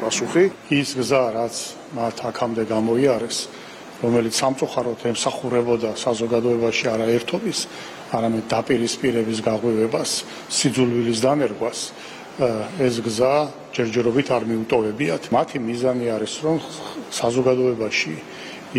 პასუხი. ის გზა, რაც მათ აქამდე გამოიარეს, რომელიც სამწუხაროდ ემსახურებოდა საზოგადოებაში არა ერთობის, არამედ დაპირისპირების გაღვივებას, სიძულვილის დანერგვას, ეს გზა ჯერჯერობით არ მიუტოვებიათ. მათი მიზანი არის, რომ საზოგადოებაში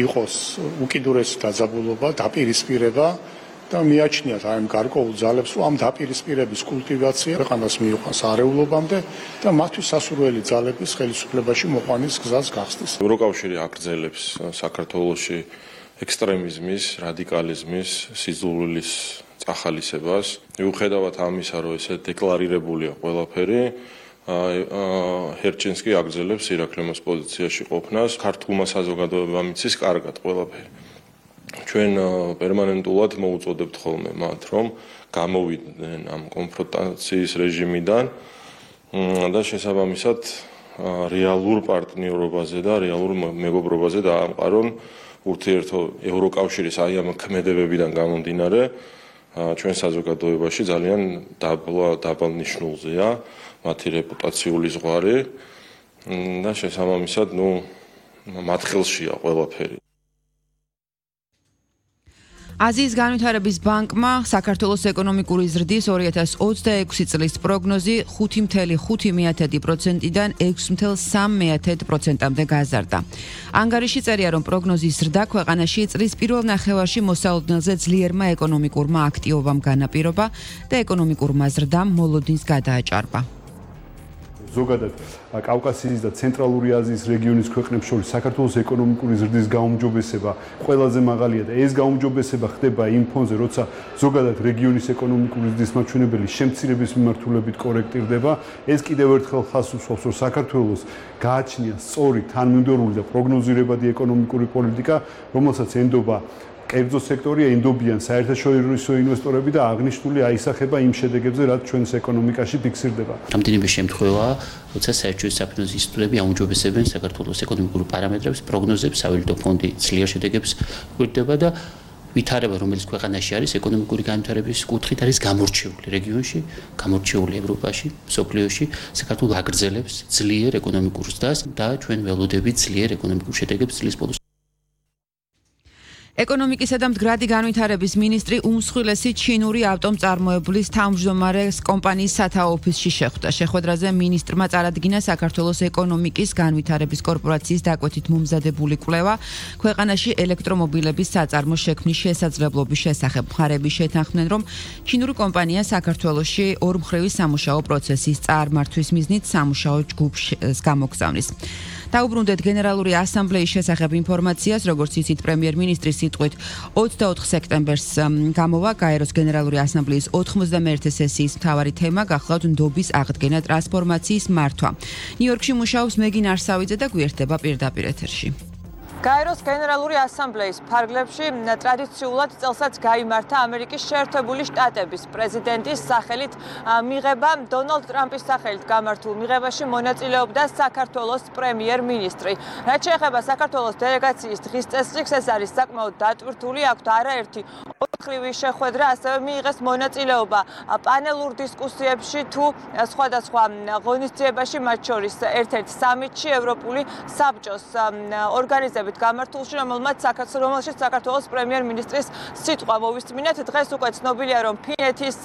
იყოს უკიდურესი დაძაბულობა, დაპირისპირება და მიაჩნიათ აი ამ გარკვეულ ძალებს, რომ ამ დაპირისპირების კულტივაცია ქვეყანას მიიყვანს არეულობამდე და მათთვის სასურველი ძალების ხელისუფლებაში მოყვანის გზას გახსნის. ევროკავშირი აგრძელებს საქართველოში ექსტრემიზმის, რადიკალიზმის, სიძულვილის წახალისებას. მიუხედავად ამისა, რომ ესე დეკლარირებულია ყველაფერი, ჰერჩინს კი აგრძელებს ირაკლიმოს პოზიციაში ყოფნას. ქართულმა საზოგადოებამ იცის კარგად ყველაფერი. ჩვენ პერმანენტულად მოუწოდებთ ხოლმე მათ, რომ გამოვიდნენ ამ კონფრონტაციის რეჟიმიდან და შესაბამისად რეალურ პარტნიორობაზე და რეალურ მეგობრობაზე დაამყარონ ურთიერთო ევროკავშირის აი ამ ქმედებებიდან გამომდინარე ჩვენ საზოგადოებაში ძალიან დაბალ ნიშნულზეა მათი რეპუტაციული ზღვარი და შესაბამისად მათ ხელშია ყველაფერი. აზიის განვითარების ბანკმა საქართველოს ეკონომიკური ზრდის 2026 წლის პროგნოზი 5.5%-დან 6.3%-მდე გაზარდა. ანგარიში წერია, რომ პროგნოზის ზრდა ქვეყანაში წლის პირველ ნახევარში მოსალოდნელზე ძლიერმა ეკონომიკურმა აქტივობამ განაპირობა და ეკონომიკურმა ზრდამ მოლოდინს გადააჭარბა. ზოგადად კავკასიის და ცენტრალური აზიის რეგიონის ქვეყნებს შორის საქართველოს ეკონომიკური ზრდის გაუმჯობესება ყველაზე მაღალია და ეს გაუმჯობესება ხდება იმ ფონზე, როცა ზოგადად რეგიონის ეკონომიკური ზრდის მაჩვენებელი შემცირების მიმართულებით კორექტირდება. ეს კიდევ ერთხელ ხაზს უსვამს, რომ საქართველოს გააჩნია სწორი, თანმიმდევრული და პროგნოზირებადი ეკონომიკური პოლიტიკა, რომელსაც ენდობა კერძო სექტორი, ენდობიან საერთაშორისო ინვესტორები და აღნიშნული აისახება იმ შედეგებზე, რაც ჩვენს ეკონომიკაში ფიქსირდება. რამდენიმე შემთხვევაა, როცა საერთაშორისო საფინანსო ინსტიტუტები აუმჯობესებენ საქართველოს ეკონომიკურ პარამეტრებს, პროგნოზებს, სავალუტო ფონდი ძლიერ შედეგებს გვერდება და ვითარება, რომელიც ქვეყანაში არის ეკონომიკური განვითარების კუთხით არის გამორჩეული რეგიონში, გამორჩეული ევროპაში, მსოფლიოში, საქართველოს აგრძელებს ძლიერ ეკონომიკურ ზრდას და ჩვენ ველოდებით ძლიერ ეკონომიკურ შედეგებს წლის ბოლოს. ეკონომიკისა და მდგრადი განვითარების მინისტრი უმსხვილესი ჩინური ავტომწარმოებლის თავმჯდომარეს კომპანიის სათაო ოფისში შეხვდა. შეხვედრაზე მინისტრმა წარადგინა საქართველოს ეკონომიკის განვითარების კორპორაციის დაკვეთით მომზადებული კვლევა ქვეყანაში ელექტრომობილების საწარმოს შექმნის შესაძლებლობის შესახებ. მხარები შეთანხმდნენ, რომ ჩინური კომპანია საქართველოში ორმხრივი სამუშაო პროცესის წარმართვის მიზნით სამუშაო ჯგუფს გამოგზავნის. დაუბრუნდეთ გენერალური ასამბლეის შესახებ ინფორმაციას, როგორც იცით პრემიერ-მინისტრის სიტყვით 24 სექტემბერს გამოვა გაეროს გენერალური ასამბლეის 91 სესიის მთავარი თემა გახლავთ ნდობის აღდგენა, ტრანსფორმაციის მართვა. ნიუ-იორკში მუშაობს მეგინ არსავიძე და გვერდება პირდაპირ ეთერში. გაეროს გენერალური ასამბლეის ფარგლებში ტრადიციულად წელსაც გაიმართა ამერიკის შეერთებული შტატების პრეზიდენტის სახელით მიღება. დონალდ ტრამპის სახელით გამართულ მიღებაში მონაწილეობდა საქართველოს პრემიერ-მინისტრი. რაც შეეხება საქართველოს დელეგაციის დღის წესრიგს, ეს არის საკმაოდ დატვირთული, აქვთ არაერთი ოთხრივი შეხვედრა, ასევე მიიღეს მონაწილეობა პანელურ დისკუსიებში თუ სხვადასხვა ღონისძიებაში, მათ შორის ერთ-ერთ სამიტში ევროპული საბჭოს ორგანიზებით გამართულში, რომელშიც საქართველოს პრემიერ-მინისტრის სიტყვა მოვისმინეთ. დღეს უკვე ცნობილია, რომ ფინეთის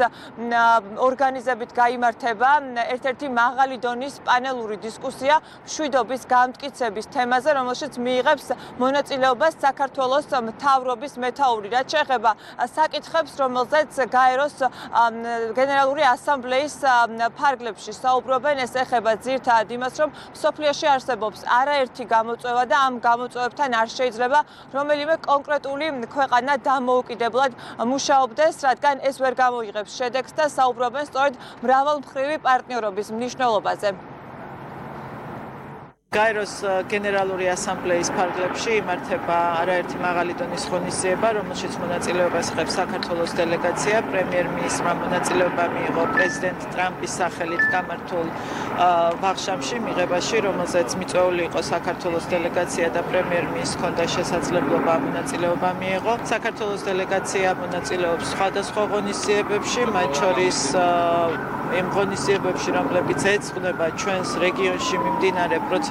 ორგანიზებით გაიმართება ერთ-ერთი მაღალი დონის პანელური დისკუსია მშვიდობის გამტკიცების თემაზე, რომელშიც მიიღებს მონაწილეობას საქართველოს მთავრობის მეთაური. რაც შეეხება საკითხებს, რომელზეც გაეროს გენერალური ასამბლეის ფარგლებში საუბრობენ, ეს ეხება ძირითადად იმას, რომ მსოფლიოში არსებობს არაერთი გამოწვევა და ამ გამოწვევებთან არ შეიძლება რომელიმე კონკრეტული ქვეყანა დამოუკიდებლად მუშაობდეს, რადგან ეს ვერ გამოიღებს შედეგს და საუბრობენ სწორედ მრავალმხრივი პარტნიორობის მნიშვნელობაზე. გაეროს გენერალური ასამბლეის ფარგლებში იმართება არაერთი მაღალი დონის ღონისძიება, რომელშიც მონაწილეობას იღებს საქართველოს დელეგაცია. პრემიერ-მინისტრმა მონაწილეობა მიიღო პრეზიდენტ ტრამპის სახელით გამართულ ვახშამში მიღებაში, რომელზეც მიწვეული იყო საქართველოს დელეგაცია და პრემიერ-მინისტრს ჰქონდა შესაძლებლობა მონაწილეობა მიიღო. საქართველოს დელეგაცია მონაწილეობს სხვადასხვა ღონისძიებებში, მათ შორის იმ ღონისძიებებში, რომლებიც ეძღვნება ჩვენს რეგიონში მიმდინარე პროცესებს